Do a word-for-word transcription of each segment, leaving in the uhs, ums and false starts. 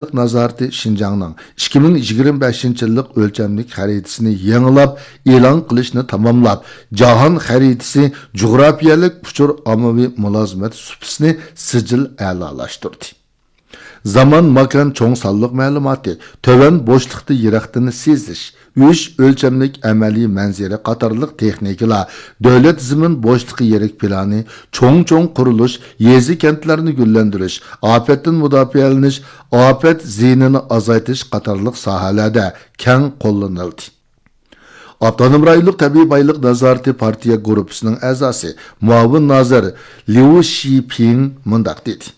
نازارىتى شىنجاڭنىڭ ئىككى مىڭ يىگىرمە بەشىنچى يىللىق ئۆلچەملىك خەرىتىسىنى يېڭىلاپ، ئېلان قىلىشنى تاماملاپ، جاھان خەرىتىسى جۇغراپىيەلىك ئۇچۇر ئاممىۋى مۇلازىمەت سۇپىسىنى سىجىل ئەلالاشتۇردى. زامان، ماكان، چوڭ سانلىق مەلۇماتى، تۆۋەن بوشلۇقتا يىراقتىن سېزىش، ئۈچ ئۆلچەملىك ئەمەلىي مەنزىرە قاتارلىق تېخنىكىلار، دۆلەت زېمىن بوشلۇقى يىرىك پىلانى، چوڭ-چوڭ قۇرۇلۇش، يېزا-كەنتلەرنى گۈللەندۈرۈش، ئاپەتتىن مۇداپىئەلىنىش، ئاپەت زىيىنىنى ئازايتىش قاتارلىق ساھەلەردە كەڭ قوللىنىلدى. ئاپتونوم رايونلۇق تەبىئىي بايلىق نازارىتى پارتىيە گۇرۇپپىسىنىڭ ئەزاسى، مۇئاۋىن نازىر ليۇ شىپىڭ مۇنداق دېدى: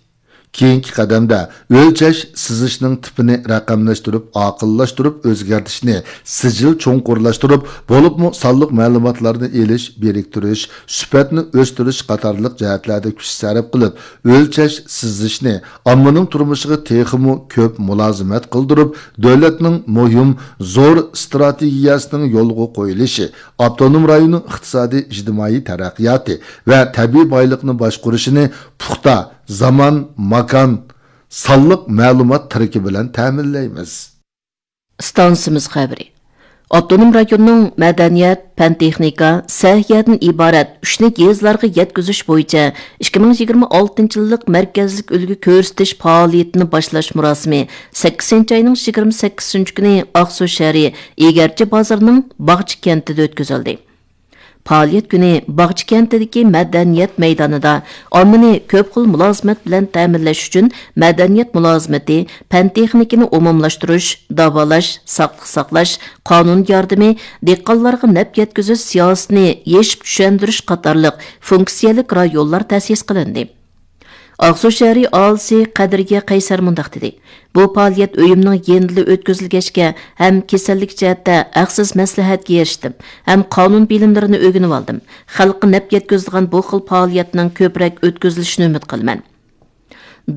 كېيىنكى قەدەمدە ئۆلچەش، سىزىشنىڭ تىپىنى رەقەملەشتۈرۈپ، ئاقىللاشتۇرۇپ ئۆزگەرتىشنى سىجىل چوڭقۇرلاشتۇرۇپ، بولۇپمۇ سانلىق مەلۇماتلارنى ئېلىش، بىرىكتۈرۈش، سۈپەتنى ئۆستۈرۈش قاتارلىق جەھەتلەردە كۈچ سەرپ قىلىپ، ئۆلچەش، سىزىشنى ئاممىنىڭ تۇرمۇشىغا تېخىمۇ كۆپ مۇلازىمەت قىلدۇرۇپ، دۆلەتنىڭ مۇھىم زور ئىستراتېگىيەسىنىڭ يولغا قويۇلۇشى، ئاپتونوم رايوننىڭ ئىقتىسادىي، ئىجتىمائىي تەرەققىياتى ۋە تەبىئىي بايلىقنى باشقۇرۇشىنى پۇختا زامان، ماكان، سانلىق مەلۇمات تىرىكى بىلەن تەمىنلەيمىز. ئىستانسىمىز خەۋىرى. ئاپتونوم رايوننىڭ مەدەنىيەت، پەن-تېخنىكا، سەھىيەدىن ئىبارەت ئۈچنى يېزىلارغا يەتكۈزۈش بويىچە ئىككى مىڭ يىگىرمە ئالتىنچى يىللىق مەركەزلىك ئۈلگە كۆرسىتىش پائالىيىتىنى باشلاش مۇراسىمى سەككىزىنچى ئاينىڭ يىگىرمە سەككىزىنچى كۈنى ئاقسۇ شەھىرى ئېگەرچى بازىرىنىڭ باغچە كەنتىدە ئۆتكۈزۈلدى. پائالىيەت كۈنى باغچە كەنتىدىكى مەدەنىيەت مەيدانىدا ئاممىنى كۆپ خىل مۇلازىمەت بىلەن تەمىنلەش ئۈچۈن مەدەنىيەت مۇلازىمىتى، پەن-تېخنىكىنى ئومۇملاشتۇرۇش، داۋالاش، ساقلىق ساقلاش، قانۇن ياردىمى، دېھقانلارغا نەپ يەتكۈزۈش سىياسىتىنى يېشىپ چۈشەندۈرۈش قاتارلىق فۇنكسىيەلىك رايونلار تەسىس قىلىندى. ئاقسۇ شەھىرى ئاھالىسى قەدرىيە قەيسەر مۇنداق دېدى: بۇ پائالىيەت ئۆيۈمنىڭ يېنىدىلا ئۆتكۈزۈلگەچكە، ھەم كېسەللىك جەھەتتە ھەقسىز مەسلىھەتكە ئېرىشتىم، ھەم قانۇن بىلىملىرىنى ئۆگىنىۋالدىم. خەلققە نەپ يەتكۈزىدىغان بۇ خىل پائالىيەتنىڭ كۆپرەك ئۆتكۈزۈلۈشىنى ئۈمىد قىلىمەن.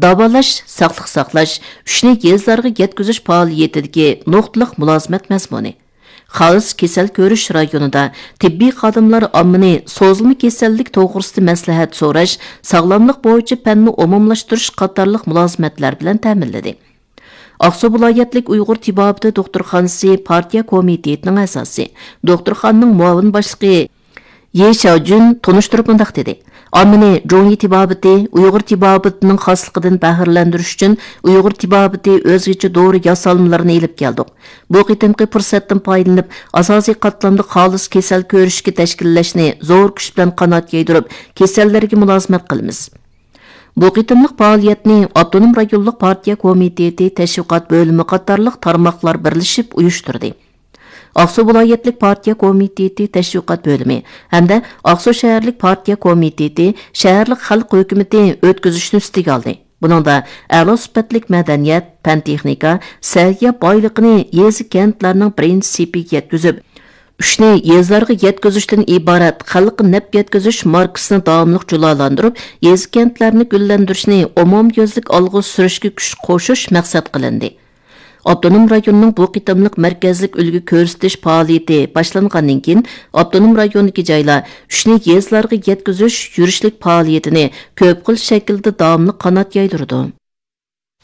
داۋالاش، ساقلىق ساقلاش، ئۈچنى يېزىلارغا يەتكۈزۈش پائالىيىتىدىكى نۇقتىلىق مۇلازىمەت مەزمۇنى. خالىس كېسەل كۆرۈش رايونىدا تېببىي خادىملار ئاممىنى سوزۇلما كېسەللىك توغرىسىدا مەسلىھەت سوراش، ساغلاملىق بويىچە پەننى ئومۇملاشتۇرۇش قاتارلىق مۇلازىمەتلەر بىلەن تەمىنلىدى. ئاقسۇ ۋىلايەتلىك ئۇيغۇر تېبابىتى دوختۇرخانىسى پارتىيە كومىتېتىنىڭ ئەزاسى، دوختۇرخانىنىڭ مۇئاۋىن باشلىقى يې شياۋجۈن تونۇشتۇرۇپ مۇنداق دېدى: ئاممىنى جۇڭيى تېبابىتى، ئۇيغۇر تېبابىتىنىڭ خاسلىقىدىن بەھرىلەندۈرۈش ئۈچۈن ئۇيغۇر تېبابىتى ئۆزگىچە دورا ياسالمىلىرىنى ئېلىپ كەلدۇق. بۇ قېتىمقى پۇرسەتتىن پايدىلىنىپ، ئاساسىي قاتلامدا خالىس كېسەل كۆرۈشكە تەشكىللەشنى زور كۈچ بىلەن قانات يايدۇرۇپ، كېسەللەرگە مۇلازىمەت قىلىمىز. بۇ قېتىملىق پائالىيەتنى ئاپتونوم رايونلۇق پارتىيە كومىتېتى تەشۋىقات بۆلۈمى قاتارلىق تارماقلار بىرلىشىپ ئۇيۇشتۇردى. ئاقسۇ ۋىلايەتلىك پارتىيە كومىتېتى تەشۋىقات بۆلۈمى ھەمدە ئاقسۇ شەھەرلىك پارتىيە كومىتېتى شەھەرلىك خەلق ھۆكۈمىتى ئۆتكۈزۈشنى ئۈستىگە ئالدى. بۇنىڭدا ئەلا سۈپەتلىك مەدەنىيەت، پەن-تېخنىكا، سەھىيە بايلىقىنى يېزا-كەنتلەرنىڭ بىرىنچى سېپىگە يەتكۈزۈپ، ئۈچنى يېزىلارغا يەتكۈزۈشتىن ئىبارەت خەلققە نەپ يەتكۈزۈش ماركىسىنى داۋاملىق جۇلالاندۇرۇپ، يېزا-كەنتلەرنى گۈللەندۈرۈشنى ئومۇميۈزلۈك ئالغا سۈرۈشكە كۈچ قوشۇش مەقسەت قىلىندى. ئاپتونوم رايوننىڭ بۇ قېتىملىق مەركەزلىك ئۈلگە كۆرسىتىش پائالىيىتى باشلانغاندىن كېيىن، ئاپتونوم رايوندىكى جايلار ئۈچنى يېزىلارغا يەتكۈزۈش يۈرۈشلۈك پائالىيىتىنى كۆپ خىل شەكىلدە داۋاملىق قانات يايدۇرىدۇ.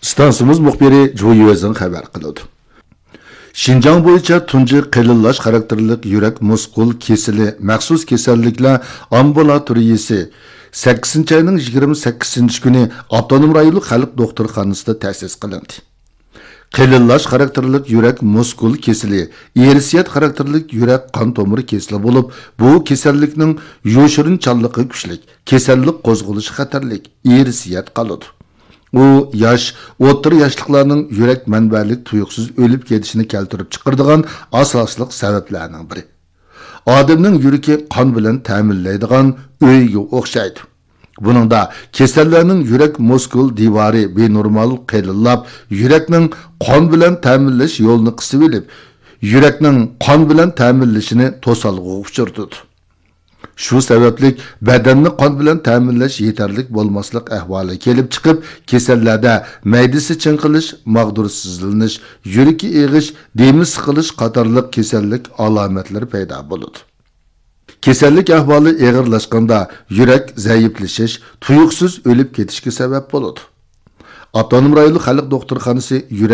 ئىستانسىمىز مۇخبىرى جۇ يۈەزىڭ خەۋەر قىلىدۇ. شىنجاڭ بويىچە تۇنجى قېلىنلاش خاراكتېرلىك يۈرەك مۇسكۇل كېسىلى مەخسۇس كېسەللىكلەر ئامبۇلاتورىيىسى سەككىزىنچى ئاينىڭ يىگىرمە سەككىزىنچى كۈنى ئاپتونوم رايونلۇق خەلق دوختۇرخانىسىدا تەسىس قىلىندى. قېلىنلاش خاراكتېرلىك يۈرەك مۇسكۇل كېسىلى ئىرسىيەت خاراكتېرلىك يۈرەك قان تومۇر كېسىلى بولۇپ، بۇ كېسەللىكنىڭ يوشۇرۇنچانلىقى كۈچلۈك، كېسەللىك قوزغىلىشى خەتەرلىك، ئىرسىيەت قالىدۇ. ئۇ ياش، ئوتتۇرا ياشلىقلارنىڭ يۈرەك مەنبەلىك تۇيۇقسىز ئۆلۈپ كېتىشىنى كەلتۈرۈپ چىقىرىدىغان ئاساسلىق سەۋەبلەرنىڭ بىرى. ئادەمنىڭ يۈرىكى قان بىلەن تەمىنلەيدىغان ئۆيگە ئوخشايدۇ. بۇنىڭدا كېسەللەرنىڭ يۈرەك مۇسكۇل دىۋارى بىنورمال قېلىنلاپ، يۈرەكنىڭ قان بىلەن تەمىنلەش يولىنى قىسىۋېلىپ، يۈرەكنىڭ قان بىلەن تەمىنلىشىنى توسالغۇغا ئۇچرىتىدۇ. شۇ سەۋەبلىك بەدەننى قان بىلەن تەمىنلەش يېتەرلىك بولماسلىق ئەھۋالى كېلىپ چىقىپ، كېسەللەردە مەيدىسى چىڭقىلىش، ماغدۇرسىزلىنىش، يۈرىكى ئېغىش، دېمى سىقىلىش قاتارلىق كېسەللىك ئالامەتلىرى پەيدا بولىدۇ. كېسەللىك ئەھۋالى ئېغىرلاشقاندا يۈرەك زەئىپلىشىش، تۇيۇقسىز ئۆلۈپ كېتىشكە سەۋەب بولىدۇ. ئاپتونوم رايونلۇق خەلق دوختۇرخانىسى يۈرەك